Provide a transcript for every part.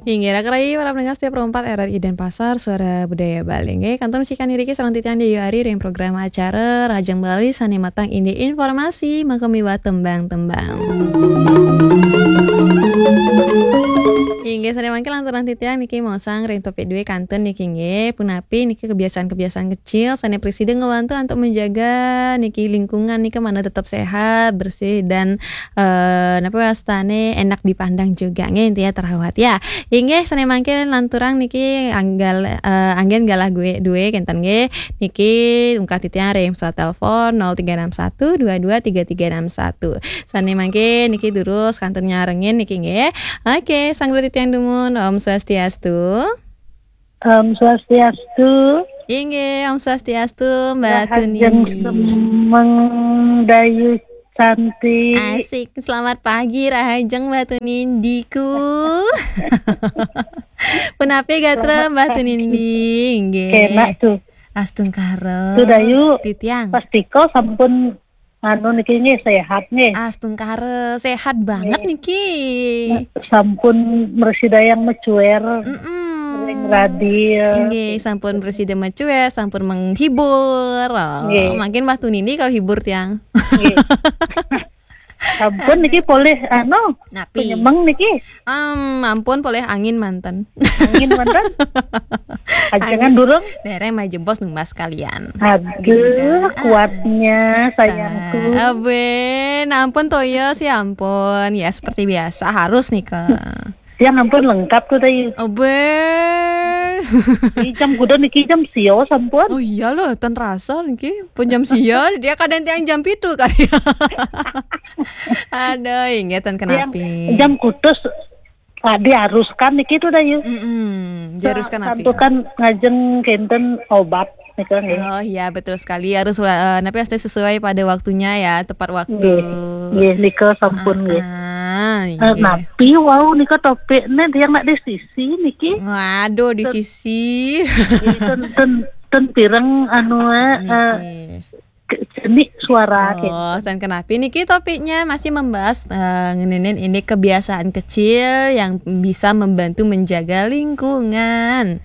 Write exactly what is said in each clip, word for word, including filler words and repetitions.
Inggih, raka rahayu para pendengar setia Pro empat R R I Denpasar, Suara Budaya Bali. Inggih, kantun sikan iriki sareng titiang Dayu Ari ring program acara Rahajeng Bali sane matang indik informasi maka miwah tembang-tembang. Inggih, sane mangkin lanturang titiang niki maosang ring topik due kantun niki nggih. Punapi niki kebiasaan-kebiasaan kecil sane prasida ngebantu untuk menjaga niki lingkungan nika mangda tetap sehat, bersih dan eh, napa wastane enak dipandang juga nggih, intinya terawat ya. Inggih, sane mangkin lanturang niki anggal eh, anggen galah gue due kenten nggih. Niki ungkah titiang ring pesawat telepon nol tiga enam satu dua dua tiga tiga enam satu. Sane mangkin niki durus kantun nyarengin niki nggih. Oke, sang titiang dumun, Om Swastiastu. Om Swastiastu. Inggih, Om Swastiastu, Mbak Rahajeng Tunindi. Semeng Dayu Santi. Asik, selamat pagi Rahajeng Mbak Tunindiku. Punapi gatra Selamat Mbak pagi. Tunindi, inggih. Kenak tuh. Astungkara. Tuh, Dayu. Titiang. Pastika sampun anu niki nggih sehat nggih. Astungkara, sehat banget Nggih. niki. Sampun mrasidayang macuer Mm-mm. ring radio. Inggih, sampun prasida macuer, sampun menghibur. Oh, Nggih. Mangkin Mbak Tunindi kalau hibur tiang. Nggih. Sampun Aduh. niki polih anu Napi? Penyemeng niki. Em, ampun polih angin manten. Angin manten? Ajengan Angin. durung? Dereng majebos numbas kalian. Aduh, Gila. kuatnya sayangku. Abe, nah ampun toya sih ampun. Ya seperti biasa harus nika. Tiang ampun lengkap tuh tadi. Abe. Ini jam kuda niki jam sio sampun. Oh iya loh, ten rasa niki. Pun jam sio, dia kadang tiang jam pitu kali. Aduh, inggih ten Tiang kenapi. jam kutus ah, diharuskan niki tuh dah yuk. Mm-mm, diharuskan Sa- napi? Santukan ngajeng kenten obat nika nggih. Oh iya, betul sekali. Harus eh, napi harus sesuai pada waktunya ya, tepat waktu. Nggih. Nggih, nika sampun nggih. Ah, Eh, inggih. Napi wau nika topik ne tiang nak di sisi niki. Waduh, di Ten- sisi. Nggih, ten ten ten pireng anu eh, eh, Niki. ke- cenik suara Oh, kenten. San kenapi niki topiknya masih membahas eh, ngeninin ini kebiasaan kecil yang bisa membantu menjaga lingkungan.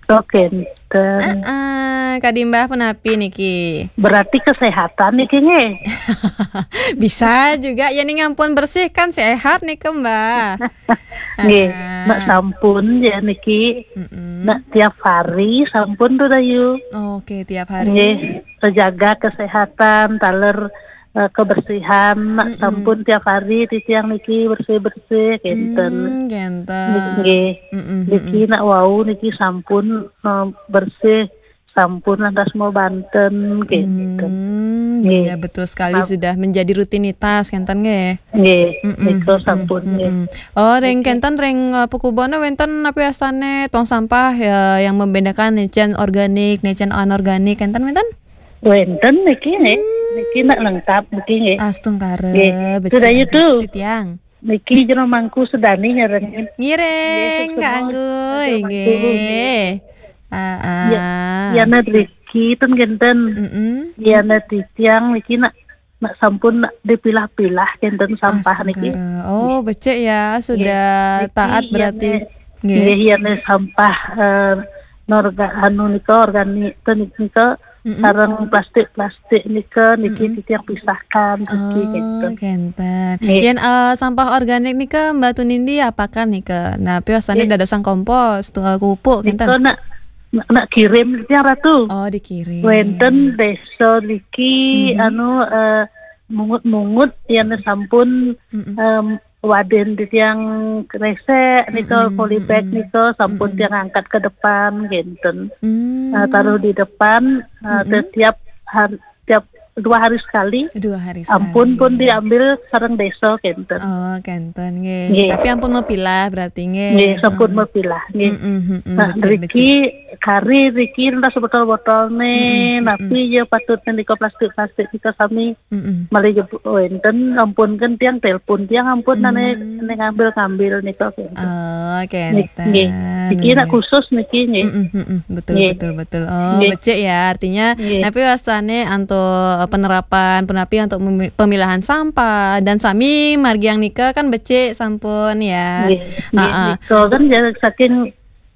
Oh, kenten. Heeh, kadimbah punapi niki? Berarti kesehatan niki nggih. Bisa juga ya ning ampun bersih kan sehat nika, Mbak. Nggih, Heeh. nak sampun ya niki. Mm-mm. Nak tiap hari sampun tuh Dayu. Oke, tiap hari. Nggih, terjaga kesehatan, taler eh, kebersihan, nak Mm-mm. sampun tiap hari titiang niki bersih-bersih kenten. Hmm, kenten. Nggih. Mm-mm, Niki mm-mm. nak wau niki sampun eh, bersih, sampun lantas mau banten kenten. Hmm, Nggih. Iya betul sekali Nap- sudah menjadi rutinitas kenten nggih. Nggih, Mm-mm, nika mm-mm, sampun nggih. mm-mm. Oh, ring Niki. kenten ring eh, pekubone wenten napi astane tong sampah ya yang membedakan necen organik, necen anorganik kenten wenten? Wenten niki nggih. Hmm. Niki nak lengkap niki nggih. Astungkara, Nggih. becik Sudah itu. Titiang. Niki jero mangku sedani nyarengin. Ngiring, Nggih, Kak semua Anggu, jero mangku, inggih. nggih. Ah, Ya, ah. ya, Nat Riki, ten genten. Mm-mm. Ya, Nat Titiang, niki nak, nak sampun nak dipilah-pilah genten sampah niki. Astungkara. Oh, becik ya, sudah Nggih. Niki taat ya, berarti. Nat. Nggih. Nggih, ya, Nat, sampah eh, norga anu nika organik ten nika Mm-mm. sareng plastik-plastik nika niki Mm-mm. titiang pisahkan niki Oh, gitu. Kenten. Nggih. Yen eh, sampah organik nika Mbak Tunindi apakan nika? Nah, piosane Nggih. dadosang kompos, tu eh, pupuk Nika kenten. nak nak kirim titiang Ratu. Oh, dikirim. Wenten desa niki Mm-hmm. anu eh, mungut-mungut yang sampun Mm-mm. em, waden titiang kresek nika Mm-mm, polybag mm-mm. nika sampun Mm-mm. tiang angkat ke depan genten. Hmm. Ah, taruh di depan ah, Mm-mm. setiap hari, tiap dua hari sekali. Dua hari Ampun sekali. pun diambil sareng desa genten. Oh, kenten nggih. Nggih. Tapi ampun mepilah berarti nggih. Nggih, sampun Oh. mepilah nggih. Mm-mm, mm-mm, Nah, becik, riki becik. kari riki entah sebotol-botol nih, Mm-mm, napi mm-mm. ya patut nika plastik-plastik nika sami Mm-mm. malih jebuk wenten ampun kan tiang telepon tiang ampun nane Hmm. nane ngambil-ngambil nika gitu. Oh, Nik- kenten. Nggih. Niki nak Nggih. khusus niki nggih. Mm-mm, mm-mm. Betul, Nggih. betul, betul. Oh, Nggih. becik ya. Artinya, Nggih. napi wastane antuk penerapan punapi untuk memi-, pemilahan sampah dan sami margiang nika kan becik sampun ya. Nggih, nggih, nika kan ya saking,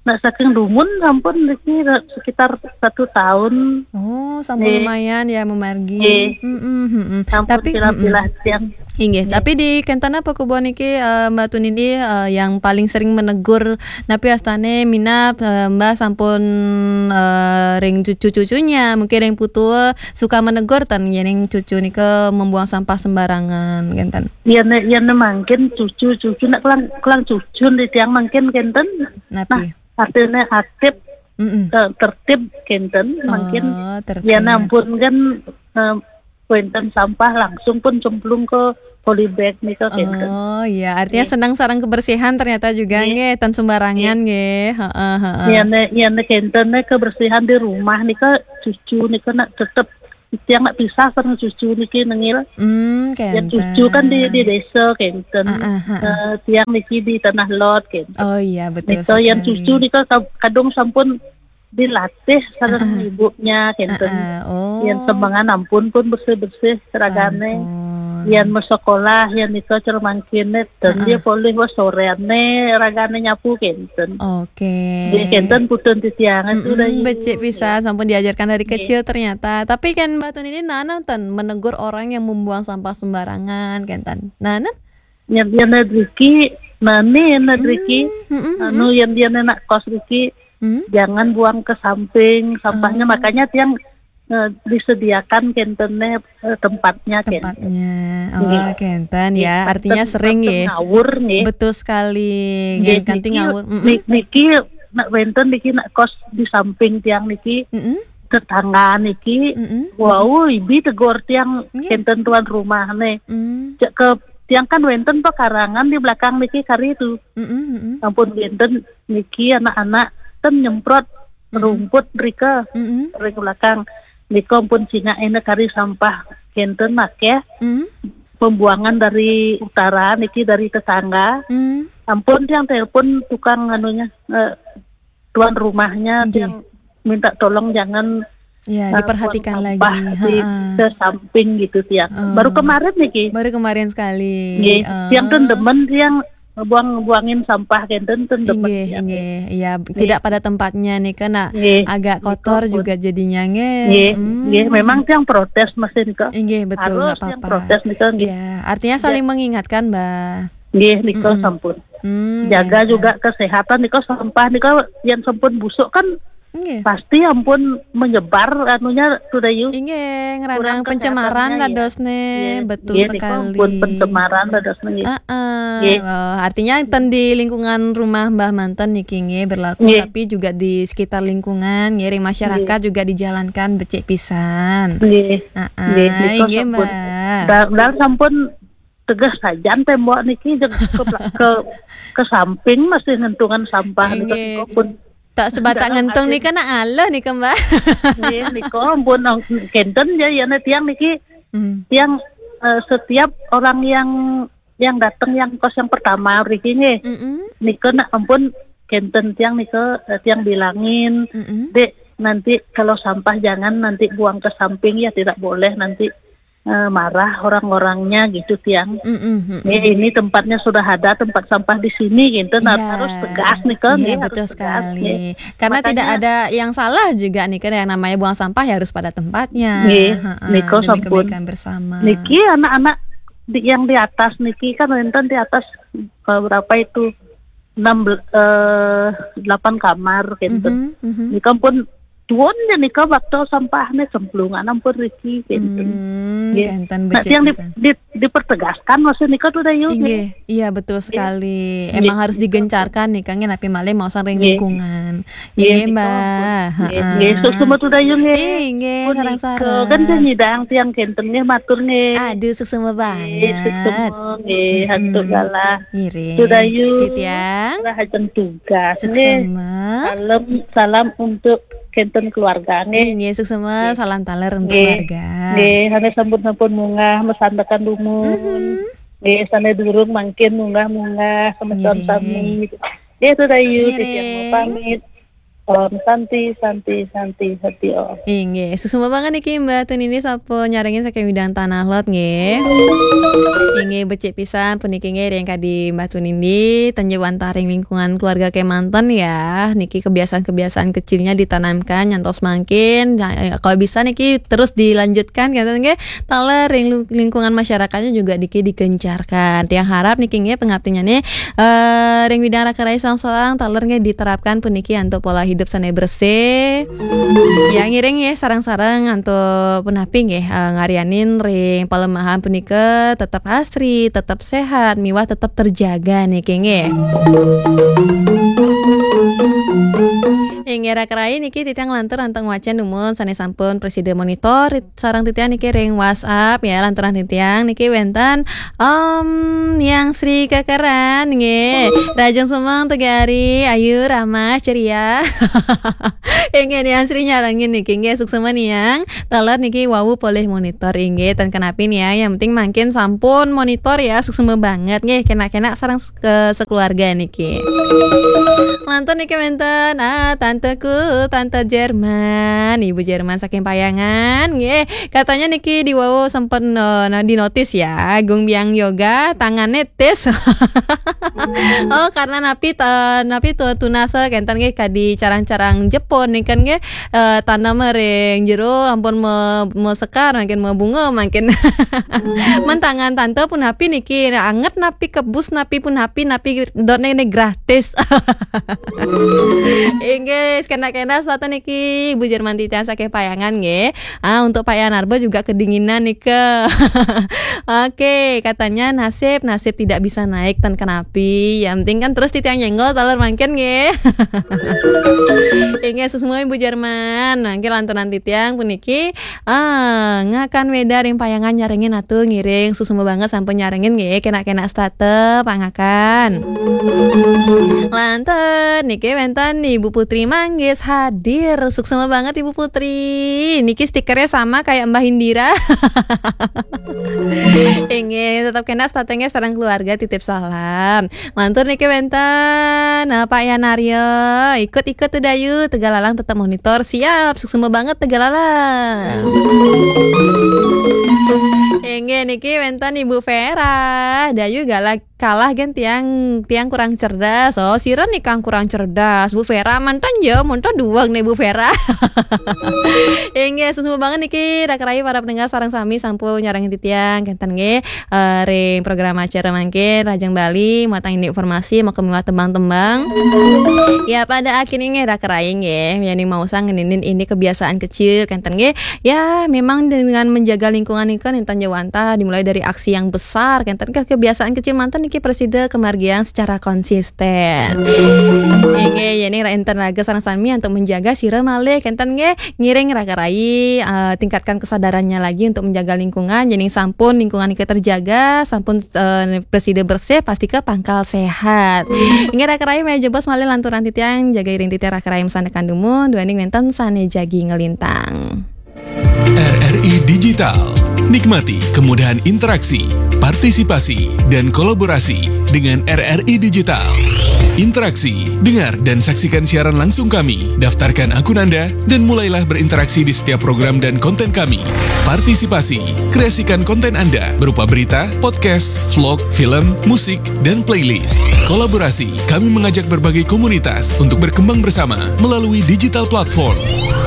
nak saking dumun sampun niki sekitar satu tahun. Oh, sampun lumayan ya memargi. Nggih. Mm-mm, mm-mm. Sampun tapi pilah-pilah tiang. Inggih, tapi di kenten apa kubo niki, eh, Mbak Tun ini, eh, yang paling sering menegur napi astane minab, eh, Mbak sampun, eh, ring cucu-cucunya, mungkin ring putu suka menegur ten yening cucu nika membuang sampah sembarangan kenten. Yen, yen mangkin cucu-cucu nak kelang, kelang cucu di tiang mangkin kenten. Napi? Nah, artine atip, mm-mm, eh, tertib kenten mangkin. Oh, tertib. Yen ampun kan, eh, wenten sampah langsung pun cemplung ke polybag nika kenten. Oh iya, artinya senang sareng kebersihan ternyata juga nggih, ten sembarangan nggih. Heeh, heeh. Yen, yen kenten kebersihan di rumah nika cucu nika nak tetep tiang nak pisah sareng cucu niki nengil. Hmm, kenten. Yen cucu kan di, di desa kenten. Heeh, heeh. Eh, tiang niki di tanah lot kenten. Oh iya, betul sekali. Nika yen cucu nika ka-, kadung sampun dilatih sareng ibunya kenten. Heeh, oh. Yen semengan ampun pun bersih-bersih ragane. Sampun. Yen mesekolah, yen nika cermangkine, dan dia polih wah soreane ragane nyapu kenten. Oke. Nggih, kenten putun titiange tu dah. Mm-mm, becik pisan, sampun diajarkan dari kecil ternyata. Tapi kan Mbak Tun ini nana ten menegur orang yang membuang sampah sembarangan kenten. Nana? Yen, yen driki, nani yen driki, mm-mm, anu, yen, yen nak kos driki, jangan buang ke samping sampahnya. Oh. Makanya tiang, eh, disediakan kentene, eh, tempatnya, kenten. Tempatnya. Oh, nggih, kenten ya. Artinya sering nggih. Ngawur nggih. Betul sekali. Nggih, nggih, kanti niki, ngawur. Mm-mm. Ni-, niki nak wenten niki nak kos di samping tiang niki. Mm-mm. Tetangga niki, mm-mm, wau, ibi tegur tiang, nggih, kenten tuan rumah ne. Mm. Cek ke tiang kan wenten pekarangan di belakang niki kari tu. Mm-mm, mm-mm. Ampun wenten niki anak-anak ten nyemprot rumput rika ring belakang. Nika ampun cingak ene kari sampah kenten akeh. Mm. Pembuangan dari utara niki dari tetangga. Mm. Ampun tiang telepon tukang anunya, eh, tuan rumahnya, nggih, tiang minta tolong jangan, ya, eh, diperhatikan buang sampah lagi. Di, heeh, ke samping gitu tiang. Oh. Baru kemarin niki. Baru kemarin sekali. Nggih. Oh. Tiang ten demen tiang buang-buangin sampah kenten ten demen. Inggih, tiang. Inggih. Ya, nggih, tidak pada tempatnya nih kena, nggih, agak kotor juga jadinya nggih. Nggih, hmm, nggih, memang tiang protes mesin ke. Inggih, betul, harus nggak tiang apa-apa. Protes nih ke, nggih. Ya, artinya saling mengingatkan, Mbak. Nggih, nika sampun. Hmm, jaga juga kesehatan nika, sampah nika yang sampun busuk kan pasti ampun menyebar anunya, Tudayu. Inggih, ngeranang pencemaran dadosne, betul sekali. Nggih, nika ampun pencemaran dadosne, nggih. Heeh. Nggih. Oh, artinya ten di lingkungan rumah Mbah manten niki nggih berlaku, tapi juga di sekitar lingkungan, nggih, ring masyarakat juga dijalankan becik pisan. Nggih. Heeh, nggih, nika inggih, sampun. Mbah. Da-, da sampun tegeh sajan tembok niki jeg ke, ke, ke samping masih ngentungan sampah nika. Inggih. Nika pun tak sebatak ngentung nika nak ngaleh nika, Mbak. Nggih, nika pun kenten ya, ya, tiang niki, hmm, tiang, eh, setiap orang yang, yang datang yang kos yang pertama mriki nggih. Mm-mm. Nika nak ampun kenten tiang nika, eh, tiang bilangin, mm-mm, "Dek, nanti kalau sampah jangan nanti buang ke samping ya, tidak boleh nanti eh, marah orang-orangnya gitu tiang. Mm-mm, mm-mm. Ya, ini tempatnya sudah ada, tempat sampah di sini gitu. Nah, iya, harus tegas nih kan, iya, ya, betul harus tegas, sekali. Ya. Karena makanya tidak ada yang salah juga nih kan, yang namanya buang sampah ya harus pada tempatnya. Nggih, heeh, nika demi sampun kebaikan bersama. Niki anak-anak di, yang di atas niki kan wenten di atas, eh, berapa itu? Enam bel-, eh, delapan kamar gitu. Mhm, mhm. Nika pun tuun ya nika bakto sampahnya cemplungan ampun riki gitu. Hmm, nggih. Kenten. Nah, becik yang di, pisan. Di, dipertegaskan maksud nika tuh, Dayu, nggih. Inggih, iya, betul sekali. Nggih. Emang harus digencarkan nih, Kang, napi malih mau ring lingkungan. Nggih. Inggih, nika Mbak. Ampun. Nggih, heeh. Nggih, suksma tuh, Dayu, nggih. Inggih, punika sareng-sareng. Kan nyidang tiang kenten nggih, matur nggih. Aduh, suksma banget. Nggih, suksma nggih, mm-mm, hatur galah. Ngiring. Tuh, Dayu. Titiang. Lah, ajeng tugas nggih. Suksma. Salam, salam untuk kenten keluarga nggih. Nggih, suksma, nggih, salam taler untuk keluarga. Nggih, sané sampun-sampun munggah masandekan dumun. Mhm. Nggih, sané durung mangkin munggah-munggah, semeton sami. Nggih, Tudayu, ngiring. Titiang mau pamit. Om Santi, Santi, Santi, Santi Om. Inggih, suksma banget niki Mbah Tunindi sampun nyarengin saking Widang Tanah Lot nggih. Inggih, becik pisan puniki nggih ring kadi Mbah Tunindi, ten jauh antah ring lingkungan keluarga kemanten ya. Niki kebiasaan-kebiasaan kecilnya ditanamkan nyantos mangkin. Nah, eh, kalau bisa niki terus dilanjutkan kenten nggih. Taler ring lu- lingkungan masyarakatnya juga niki digencarkan. Tiang harap niki nggih pengabdinya nih eh, ring widang raka rai soang-soang taler nggih diterapkan puniki antuk pola hidup sane bersih. Ya ngiring nggih sareng-sareng antuk punapi nggih eh, ngarianin ring palemahan punika tetep asri, tetep sehat, miwah tetep terjaga niki nggih. Inggih raka rai niki titiang lantur antuk ngwacen dumun sane sampun prasida monitor sareng titiang niki ring WhatsApp ya lanturan titiang niki wenten Om Yang Sri Kekeran nggih. Rajeng semeng tegari ayu ramah ceria. Inggih Yang Sri nyarengin niki nggih suksma niang. Taler niki wau polih monitor inggih ten kenapi niang yang penting mangkin sampun monitor ya suksma banget nggih kena-kena sareng ke sekeluarga niki. Lantur niki wenten ah tanteku tante Jerman, ibu Jerman saking Payangan nggih. Katanya niki diwau sempet no, no, dinotis ya, Gung Biang Yoga tangane tis. Oh karena napi ta, napi tu tunasa kenten nggih kadi carang-carang Jepun nih kan nggih eh, tanam ring jero ampun me, mesekar mangkin mebunga mangkin. Men tangan tante punapi niki anget napi kebus napi punapi napi dotne ini gratis. Inggih kena-kena satu niki Ibu Jerman titian saking Payangan nggih. Ah untuk Pak Yanarba juga kedinginan nika. Oke katanya nasib nasib tidak bisa naik ten kenapi yang penting kan terus titiang nyenggol taler mangkin nggih. Inggih suksma Ibu Jerman mangkin lanturan titiang puniki ah ngakan weda ring Payangan nyarengin atuh ngiring suksma banget sampun nyarengin nggih kena-kena stata pangakan. Lantur niki wenten Ibu Putri Manggis hadir suksma banget Ibu Putri niki stikernya sama kayak Mbah Indira. Inggih tetap kena statanya sarang keluarga titip salam. Lantur niki wenten nah, Pak Yanaryo ikut-ikut tuh Dayu tegalalang tetap monitor siap suksma banget tegalalang. Inggih niki wenten Ibu Vera Dayu galak kalah kan tiang tiang kurang cerdas. Oh, sira nih kang kurang cerdas. Bu Vera mantan ya, mantan duang nih Bu Vera. Inggih, suksma banget niki raka rai para pendengar sareng sami sampun nyarengin titiang kenten nggih eh, ring program acara mangkin Rajang Bali matang ini informasi mau kemiwah tembang-tembang. Ya pada akhirnya nggih raka rai nggih, yani mau sang ngenin ini kebiasaan kecil kenten nggih. Ya memang dengan menjaga lingkungan ini kan intan jawanta dimulai dari aksi yang besar kenten ke kebiasaan kecil mantan niki presida kemargian secara konsisten. Inggih, yani enten raga sareng sami untuk menjaga sira malih kenten nggih ngiring raka rai eh, tingkatkan kesadarannya lagi untuk menjaga lingkungan. Jadi sampun lingkungan niki terjaga, sampun eh, presida bersih, pasti ke pangkal sehat. Inggih raka rai meja bos malih lanturan titiang jaga iring titiang raka rai mesan tekan dumun, duaning wenten sane jagi ngelintang. R R I Digital. Nikmati kemudahan interaksi, partisipasi, dan kolaborasi dengan R R I Digital. Interaksi, dengar dan saksikan siaran langsung kami. Daftarkan akun Anda dan mulailah berinteraksi di setiap program dan konten kami. Partisipasi, kreasikan konten Anda berupa berita, podcast, vlog, film, musik, dan playlist. Kolaborasi, kami mengajak berbagai komunitas untuk berkembang bersama melalui digital platform.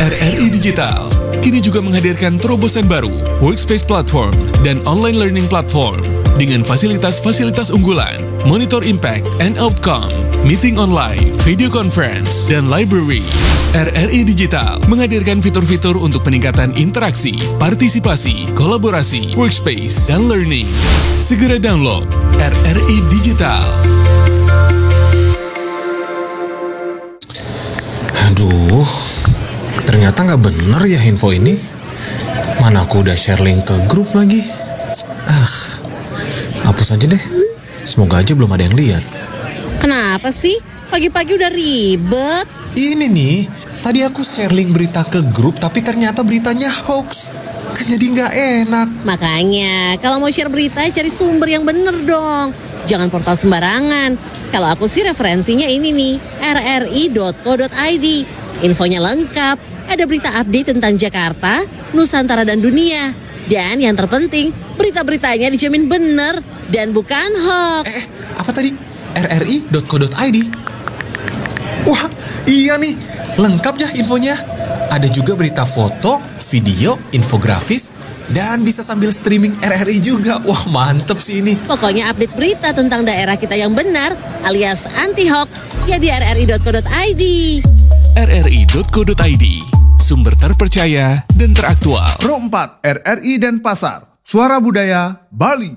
R R I Digital kini juga menghadirkan terobosan baru, Workspace Platform dan Online Learning Platform dengan fasilitas-fasilitas unggulan, monitor impact and outcome, meeting online, video conference, dan library. R R I Digital menghadirkan fitur-fitur untuk peningkatan interaksi, partisipasi, kolaborasi, workspace, dan learning. Segera download R R I Digital. Aduh, ternyata nggak bener ya info ini. Mana aku udah share link ke grup lagi. Ah, hapus aja deh. Semoga aja belum ada yang lihat. Kenapa sih? Pagi-pagi udah ribet. Ini nih, tadi aku share link berita ke grup tapi ternyata beritanya hoax. Kan jadi nggak enak. Makanya, kalau mau share berita, cari sumber yang bener dong. Jangan portal sembarangan. Kalau aku sih referensinya ini nih, R R I dot co dot I D. Infonya lengkap, ada berita update tentang Jakarta, Nusantara dan dunia. Dan yang terpenting, berita-beritanya dijamin benar dan bukan hoax. Eh, apa tadi? R R I dot co dot I D. Wah, iya nih, lengkap ya infonya. Ada juga berita foto, video, infografis, dan bisa sambil streaming R R I juga. Wah, mantep sih ini. Pokoknya update berita tentang daerah kita yang benar alias anti hoax ya di R R I dot co dot I D. R R I dot co dot I D, sumber terpercaya dan teraktual. Pro empat R R I Denpasar, Suara Budaya Bali.